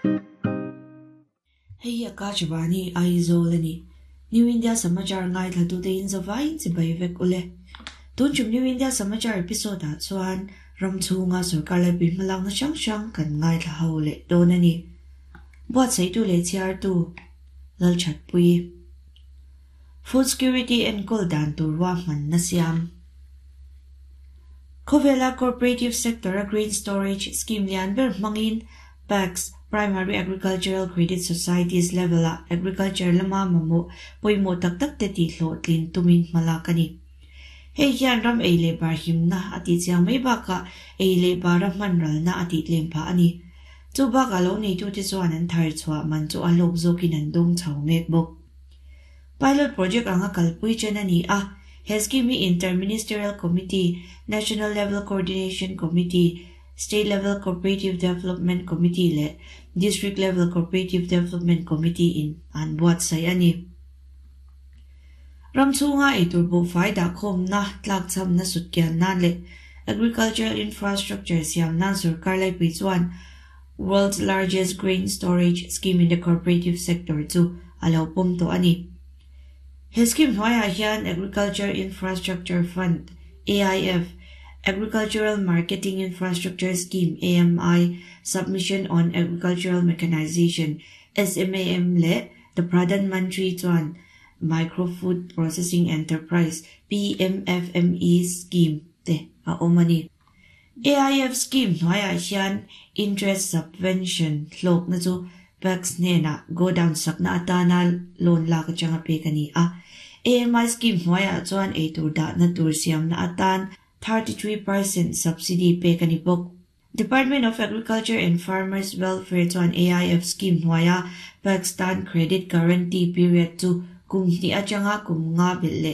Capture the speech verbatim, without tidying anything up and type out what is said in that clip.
Hei hi Akashvani Aizawl a ni. New India Samachar ngaithlatute in zavaiin chibai vek ule. Tun tum New India Samachar episode ah chuan ram chhunga sorkar laipui hmalakna hrang hrang kan ngaithla ho leh dawn a ni. Buatsaihtu leh chhiartu Lalthatpui. Food Security enkawl dan tur ruahmanna siam. Khawvela Cooperative Sector a Grain Storage Scheme lian ber hmangin PACS, Primary Agricultural Credit Societies level ah agriculture lama mamawh pawimawh tak tak te tih hlawhtlin tumin hmalak a ni. Hei hian ram ei leh bar himna a tih chiang mai bakah ei leh bara hman ralna a tih tlem phah a ni. Chu bakah lo neitute chuan an thar chhuah man chu a hlawk zawkin an dawng chho mek bawk. Pilot project anga kalpui chen a ni a, he scheme hi Inter-Ministerial Committee, National Level Coordination Committee, State Level Cooperative Development Committee leh District Level Cooperative Development Committee in an buatsaih a ni. Ram chhunga eitur buhfai dahkhawmna tlakchhamna sutkian nan leh Agricultural Infrastructure siam nan sorkar laipui chuan World's Largest Grain Storage Scheme in the Cooperative Sector chu a lo pawm tawh a ni. He scheme hnuaiah hian Agriculture Infrastructure Fund, A I F, Agricultural Marketing Infrastructure Scheme, A M I, Submission on Agricultural Mechanization, S M A M leh the Pradhan Mantri chuan Micro Food Processing Enterprise, P M F M E Scheme te a awm a ni. A I F scheme hnuaiah hian interest subvention hlawkna chu PACS hnenah godown sakna atana loan lak atanga pek a ni a. A M I scheme hnuaiah chuan eitur dahna tur siamna atan thirty-three percent subsidy pek a ni bawk. Department of Agriculture and Farmers Welfare chuan A I F scheme hnuaia PACS tan credit guarantee period chu kum hnih atanga kum nga belh leh